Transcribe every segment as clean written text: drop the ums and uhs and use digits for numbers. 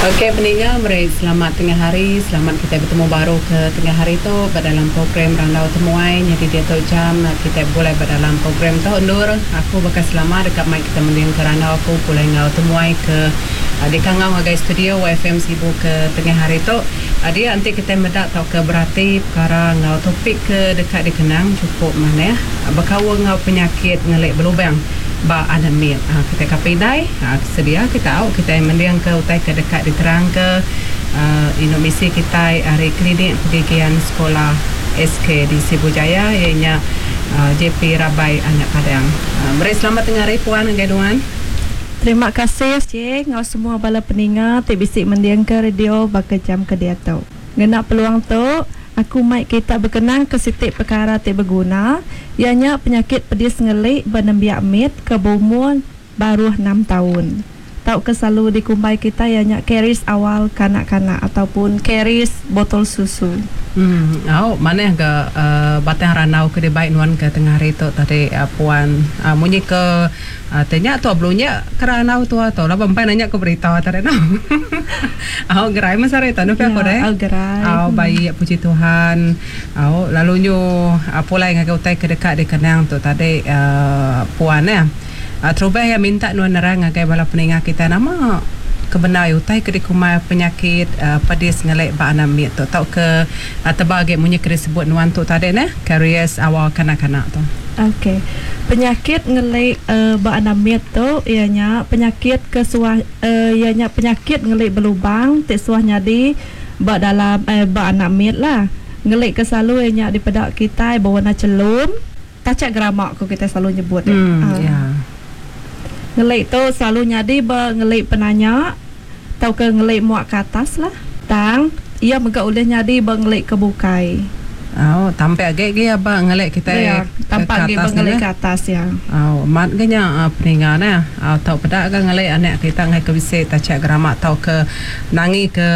Ok peninga meri selamat tengah hari, selamat kitai betemu baru ke tengah hari tu ba dalam program Randau Temuai nyadi diatu jam kitai begulai ba dalam program tu endur aku baka selama deka mai kita mending ke randau aku pulai enggau temuai ke dikangau ngagai studio YFM Sibu ke tengah hari tu. Dia enti kitai meda tauka berati pekara enggau topik ke deka dikenang chukup manah bekaul enggau penyakit ngeli belubang ba anak mit. Kitai ka pindai sedia kita au kitai mendingka utai ke deka diterangka indu misi kitai ari Klinik Pergigian Sekolah SK di Sibu Jaya iya nya JP Rabai Anak Padang. Meri selamat tengah hari puan ngagai nuan. Terima kasih Cik enggau semua bala peninga ti bisi mendingka radio baka jam ke diatu. Ngena peluang tu, aku mai kita bekenang ke siti pekara ti beguna, iya nya penyakit pedis ngeli ba nembiak mit ke beumur baruh enam taun tauka selalu dikumbai kitai iya nya karis awal kanak-kanak ataupun karis botol susu. Au manah ga batang randau ke dibai nuan ke tengah hari tu tadi puan. Munyi ke Ti nya tua belunyak ke randau tua tu laban empai nanya ke berita tadi noh. Au gerai meh sehari tu nuh pia ku deh. Au gerai. Au baik puji Tuhan. Au lalu nyu pulai ngagai utai ke deka dikenang tu tadi uhh puan neh. Terubah iya minta nuan nerang ngagai bala peninga kitai nama ke bendar utai ke dikumbai penyakit pedis ngeli ba anak mit tu tauka tebal agi munyi ke disebut nuan tu tadi neh karies awal kanak-kanak tu. Ok. Penyakit ngeli ba anak mit tu iya nya penyakit ke suah iya nya penyakit ngeli belubang ti suah nyadi ba dalam ba anak mit lah. Ngeli ke selalu iya nya dipeda kitai bewarna chelum, tachak gerama ku kitai selalu nyebut iya. Ngeli tu selalu nyadi ba ngeli penanya tauka ngeli muak ke atas lah. Tang, iya mega ulih nyadi ba ngeli ke bukai. Au, tampak agi gi ba ngeli kitai Ya, tampak agi ba ngeli ke atas ya. Au, amat ga nya peninga neh. Au, tau peda ga ngeli anak kita enggai ke bisi tachak geramak tauka nangi ke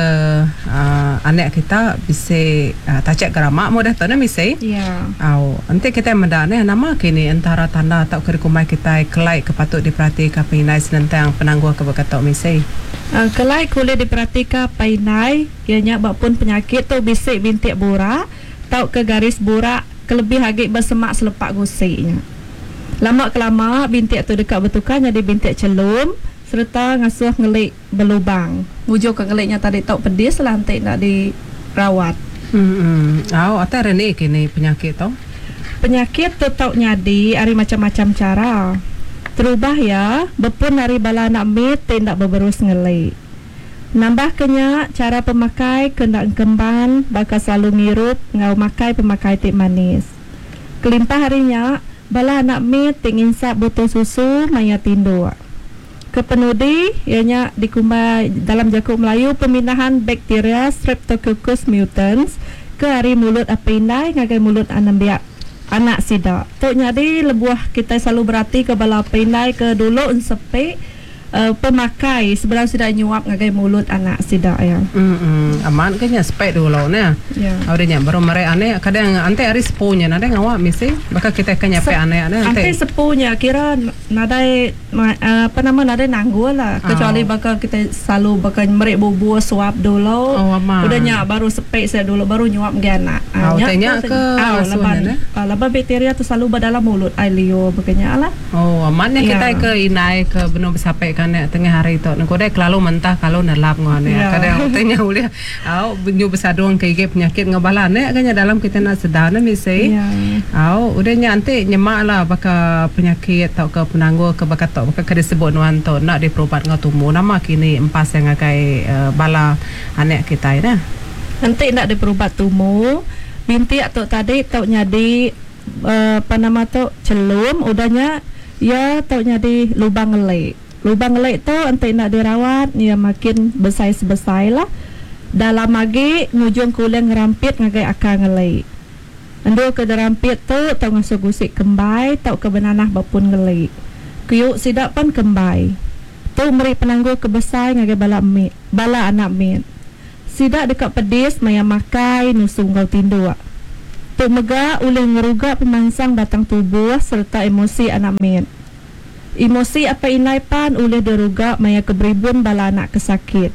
anak kita bisi tachak geramak meh udah tu neh misi. Ya. Au, enti kitai meda neh nama kini entara tanda tauka dikumbai kitai kelai ke patut diperatika pengindai senentang penanggul ke baka tu misi. Kelai ke ulih diperatika apai indai iya nya ba pun penyakit tu bisi bintik burak tauka garis burak kelebih agi ba semak selepak gusi nya. Lama kelama bintik tu deka betukar nyadi bintik chelum sereta ngasuh ngeli belubang. Ngujungka ngeli nya tadi tau pedis lah enti enda dirawat. Au atai ari ni kini penyakit tu? Penyakit tu tau nyadi ari macham-macham chara. Terubah iya, bepun ari bala anak mit ti enda beberus ngeli. Nambahka nya, chara pemakai ke enda engkemban baka selalu ngirup enggau makai pemakai ti manis. Kelimpah ari nya, bala anak mit ti nginsap botol susu maya tinduk. Kepenudi, iya nya dikumbai dalam jaku Melayu pemindahan bakteria Streptococcus mutans ke ari mulut apai indai ngagai mulut anembiak anak sida. Tu nyadi lebuh kitai selalu beratika bala apai indai ke dulu ensepi pemakai sebedau sida nyuap ngagai mulut anak sida iya. Emm amat ke nya sepek dulu neh. Udah nya baru meri anak kadang enti ari sepu nya nadai ngawa misi baka kitai ke nyapek anak neh enti. Enti sepu nya kira nadai Apa nama nadai nanggul lah kecuali baka kitai selalu baka meri bubur suap dulu udah nya baru sepik sida dulu baru nyuap ngagai anak. Nya ke laban laban bakteria tu selalu ba dalam mulut ai liur baka nya lah. Oh amat nya kitai ke indai ke benung besapik ke anak tengah hari tu nengku deh kelalu mentah kelalu nelap enggau anak kadang utai nya ulih Au, nyu besadung ke igi penyakit enggau bala anak ga nya dalam kitai enda sedar neh bisi. Au, udah nya enti nyema la baka penyakit tauka penanggul ke baka tu baka ke disebut nuan tu enda diperubat enggau tumu nama kini empas iya ngagai bala anak kitai neh. Enti enda diperubat tumu, bintik tu tadi tau nyadi apa nama tu chelum udah nya iya tau nyadi lubang ngeli. Lubang ngeli tu enti enda dirawat iya makin besai-sebesai lah. Dalam agi ngujung ke ulih ngerampit ngagai akar ngeli. Endur ke derampit tu tau ngasuh gusi kembai tauka benanah ba pun ngeli. Kiu sida pan kembai. Tu meri penanggul ke besai ngagai bala mit, bala anak mit. Sida deka pedis maya makai, nusu enggau tinduk. Tu mega ulih ngeruga pemansang batang tubuh sereta emosi anak mit. Emosi apai indai pan ulih diruga maya ke beribun bala anak ke sakit.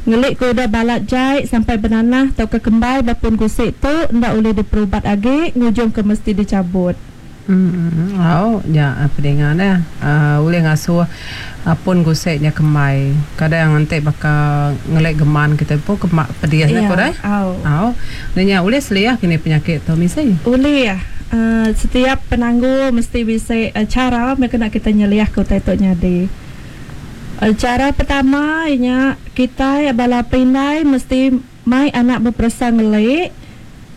Ngeli ke udah balat jai sampai benanah tauka kembai ba pun gusi tu enda ulih diperubat agi ngujungka mesti dichabut. Au nya pedinga neh ulih ngasuh pun gusi nya kembai. Kadang enti baka ngeli geman kitai empu ke pedis nya ku deh. Au nya ulih seliah kini penyakit tu misi. Ulih. Setiap penanggul mesti bisi chara meh kena kitai nyeliahka utai tu nyadi. Chara pertama iya nya kitai bala pindai mesti mai anak beperesa ngeli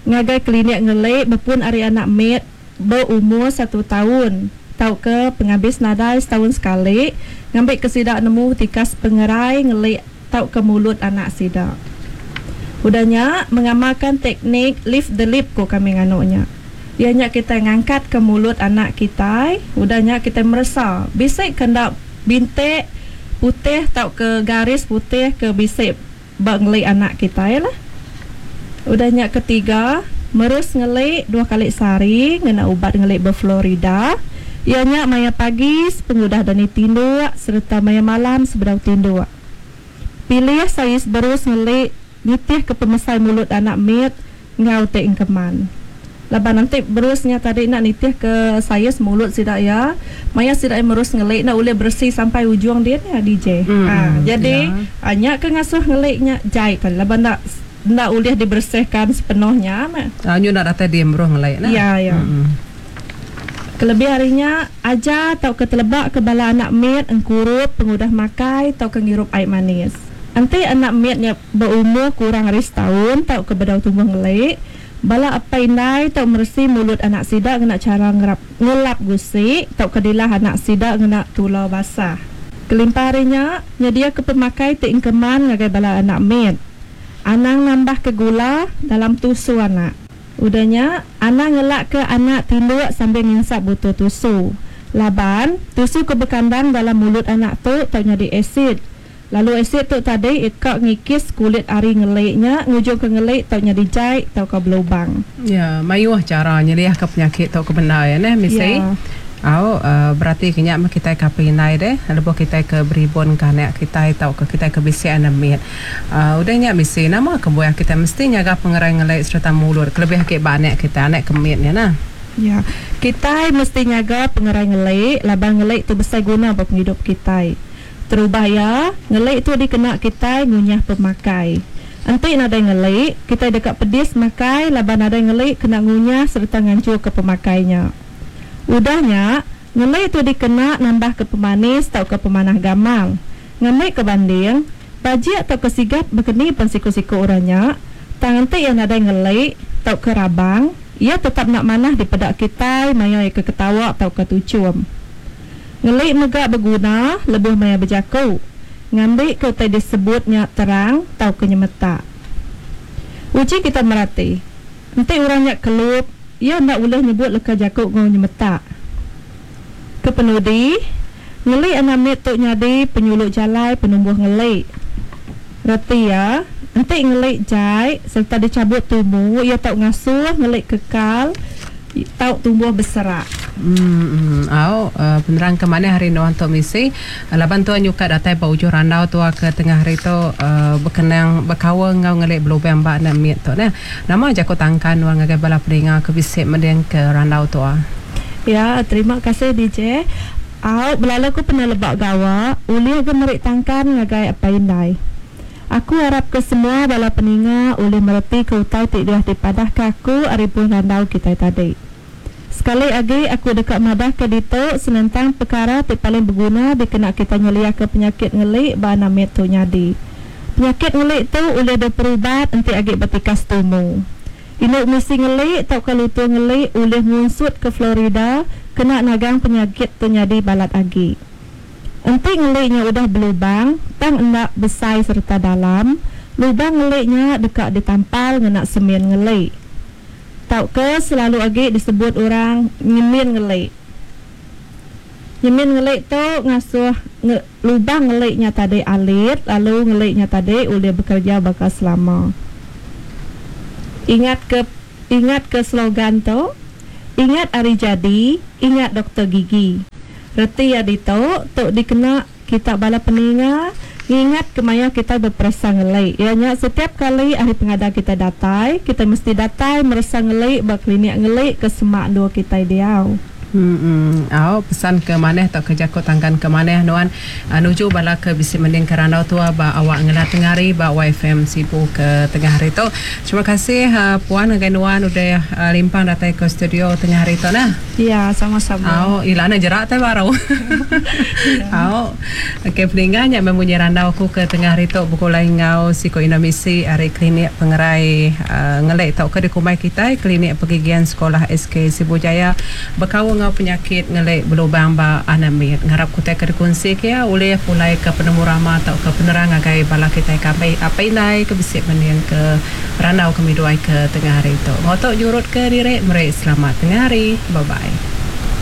ngagai klinik ngeli bepun ari anak mit beumur satu taun tauka pengabis nadai setaun sekali ngambika sida nemu tikas pengerai ngeli tauka mulut anak sida. Udah nya mengamalkan teknik lift the lip ku kami nganu nya. Iya nya kitai ngangkatka mulut anak kitai udah nya kitai meresa bisi ke enda bintik putih tauka garis putih ke bisi ba ngeli anak kitai lah. Udah nya ketiga, merus ngeli dua kali sehari ngena ubat ngeli berfluorida, iya nya maya pagi sepengudah dani tinduk sereta maya malam sebedau tinduk. Pilih saiz berus ngeli nitihka pemesai mulut anak mit enggau ti engkeman. Laban enti berus nya tadi enda nitih ke saiz mulut sida iya, maya sida iya merus ngeli enda ulih beresi sampai ujung din nya DJ. Ha jadi nya ke ngasuh ngeli nya jai tadi laban enda enda ulih dibersihkan sepenuhnya meh. Nyu enda datai di meruh ngeli nah. Ya ya. Kelebih ari nya, ajar tauka teleba ke bala anak mit engkurup pengudah makai tauka ngirup ai manis. Enti anak mit nya beumur kurang ari setaun tauka bedau tumbuh ngeli, Bala apai indai tau meresi mulut anak sida ngena chara ngerap ngelap gusi tauka dilah anak sida ngena tula basah. Kelimpah ari nya, nyediaka pemakai ti engkeman ngagai bala anak mit. Anang nambahka gula dalam tusu anak. Udah nya, anang ngelakka anak tinduk sambil nginsap butul tusu. Laban, tusu ke bekandang dalam mulut anak tu tau nyadi asid. Lalu asid tu tadi ka ngikis kulit ari ngeli nya ngujungka ngeli tau nyadi jai tauka belubang. Ya, mayuh chara nyeliahka penyakit tu ke bendar ya neh misi. Au berati ke nya meh kitai ke apai indai deh lebuh kitai ke beribun ke anak kitai tauka kitai ke bisi anak mit. Udah nya misi nama kebuah kitai mesti nyaga pengerai ngeli sereta mulut kelebih agi ba anak kitai anak ke mit nya nah. Ya, kitai mesti nyaga pengerai ngeli laban ngeli tu besai guna ba pengidup kitai. Terubah iya, ngeli tu dikena kitai ngunyah pemakai. Enti nadai ngeli, kitai deka pedis makai laban nadai ngeli kena ngunyah sereta nganchurka pemakai nya. Udah nya, ngeli tu dikena nambahka pemanis tauka pemanah gamal. Ngambika banding, bajik tauka sigat bekeni pen siku-siku orang nya, tang enti iya nadai ngeli tauka rabang, iya tetap enda manah dipeda kitai maya iya ke ketawa tauka tuchum. Ngeli mega beguna lebuh maya bejaku, ngambika utai disebut nya terang tauka nyemetak. Uji kita merati, enti orang nya kelup, iya enda ulih nyebut leka jaku enggau nyemetak. Kepenudi, ngeli anak mit tu nyadi penyulu jalai penumbuh ngeli. Reti iya, enti ngeli jai sereta dichabut tumu, iya tau ngasuh ngeli kekal tau tumbuh beserak. Emm au penerang ke manah ari nuan tu misi laban tua nyuka datai ba ujung randau tua ke tengah hari tu bekenang bekaul enggau ngeli belubang ba anak mit tu neh. Nama jaku tangkan nuan ngagai bala peninga ke bisi mending ke randau tua. Ya terima kasih DJ. Au belalu ku peneleba gawa ulih ga meri tangkan ngagai apai indai. Aku arapka semua bala peninga ulih meretika utai ti diah dipadahka aku ari pun randau kitai tadi. Sekali agi aku deka madahka ditu senentang pekara ti paling beguna dikena kitai nyeliahka penyakit ngeli ba anak mit tu nyadi. Penyakit ngeli tu ulih diperubat enti agi ba tikas tumu. Indu misi ngeli tauka lutur ngeli ulih ngunsutka fluorida kena nagang penyakit tu nyadi balat agi. Enti ngeli nya udah belubang tang enda besai sereta dalam, lubang ngeli nya deka ditampal ngena semin ngeli. Tauka selalu agi disebut orang nyemin ngeli. Nyemin ngeli tu ngasuh lubang ngeli nya tadi alit lalu ngeli nya tadi ulih bekereja baka selama. Ingatka ingatka slogan tu, Ingat ari jadi, ingat doktor gigi. Reti iya ditu, tu dikena kita bala peninga Ngingat ke maya kitai beperesa ngeli iya nya setiap kali hari pengada kitai datai, kitai mesti datai meresa ngeli ba klinik ngeli ke semak endur kitai diau. Mm Au, pesan ke manah tauka jaku tangkan ke manah nuan nuju bala ke bisi mendingka randau tua ba awak ngena tengah hari ba YFM Sibu ke tengah hari tu. Terima kasih puan ngagai nuan udah limpang datai ke studio tengah hari tu nah. Ya, sama-sama. Au, ila ne jerak tai baru. Au. Okey peninga nya meh munyi randau aku ke tengah hari tu begulai enggau siku indu misi ari Klinik Pengerai Ngelik tauka dikumbai kitai Klinik Pergigian Sekolah SK Sibu Jaya bekaul enggau penyakit ngelik belubang ba anak mit. Ngarap ke utai ke dikunsi ke iya ulih pulai ke penemu rama tauka penerang ngagai bala kitai ke ambi apai indai ke bisi mending ke randau kami duai ke tengah hari tu. Enggau tu nyurut ke diri meri selamat tengah hari. Bye bye.